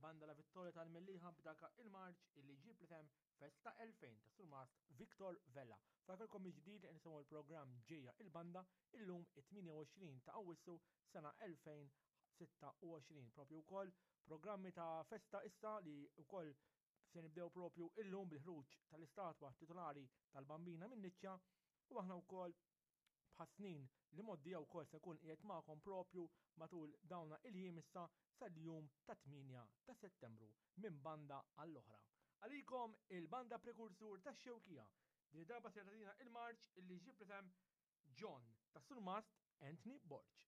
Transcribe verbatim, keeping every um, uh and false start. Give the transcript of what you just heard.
Il-banda La Vittoria tal-Mellieħa b'daka il-marċ illi ġib l-isem Festa elfejn ta' Surmast Victor Vella. Fakarkom mill-ġdid li nisimgħu l-programm Ġejja il-Banda illum it-tmienja u għoxrin ta' Awwissu sena elfejn sitta u għoxrin. Propju wkoll programmi ta' festa issa li wkoll se nibdew propju illum bil-ħruġ tal-istatwa titolari tal-Bambina min-niċċa, u aħna wkoll bħas-snin li moddija wkoll se nkun qiegħed magħkom propju matul dawna il-jiem issa sal-jum ta' tmienja ta' Settembru minn banda għall-oħra. Għalikom il-banda prekursur tax-Xewkija. Din id-darba se tagħtina il-marċ illi ġib l-isem John ta' Surmast Anthony Borg.